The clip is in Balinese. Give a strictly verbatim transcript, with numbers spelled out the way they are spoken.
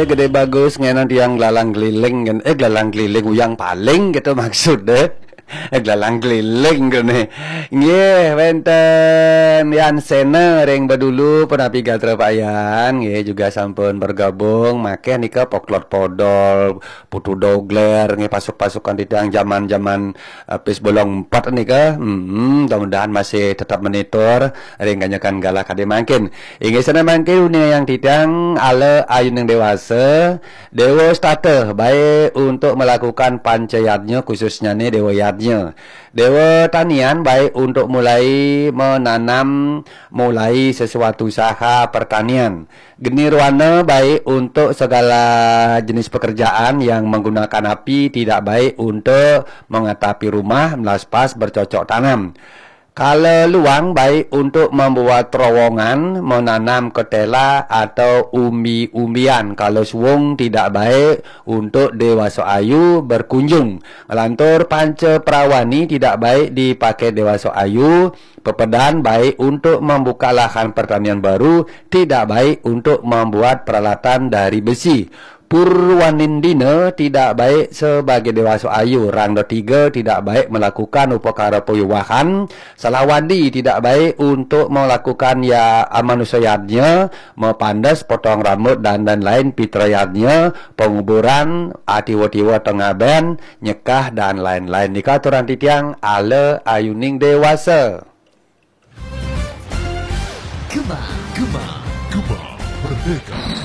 Gedé Bagus, ngenan tiang glalang keliling kan. Eh, glalang keliling uyang paling gitu maksudnya. Eh, glalang keliling kene. Nggih, wénten Yan Sena ring Bedulu, punapi gatra Pak Yan, nggih juga sampun bergabung. Makéh nika Poklot Podol, Putu Dogler, nggih pasuk-pasukan titiang zaman-zaman, eh, pis bolong empat nika. Hmm, mudah-mudahan masih tetap menitur ring kanyekan galah kadi mangkin. Inggih sana mangkin uning yang titiang ala ayuning dewasa, Dewa Stata baik untuk melakukan panca yadnya, khususnya nih Dewa Yadnya. Dewa Tanian baik untuk mulai menanam, mulai sesuatu usaha pertanian. Genirwana baik untuk segala jenis pekerjaan yang menggunakan api, tidak baik untuk mengatapi rumah, melaspas, bercocok tanam. Kala luang baik untuk membuat terowongan, menanam ketela atau umbi-umbian. Kala suwung tidak baik untuk dewasa ayu berkunjung. Ngelantur panca prawani tidak baik dipakai dewasa ayu. Pepedan baik untuk membuka lahan pertanian baru, tidak baik untuk membuat peralatan dari besi. Purwanindina tidak baik sebagai dewasa ayu, rangda tiga tidak baik melakukan upakara payuwahan, salawadi tidak baik untuk melakukan ya amanusa yadnya, mapandes, potong rambut dan lain-lain, pitra yadnya, penguburan, atiwa-tiwa tengah ben, nyekah dan lain-lain. Nika aturan titiang ala ayuning dewasa. Gema, gema, gema, merdeka.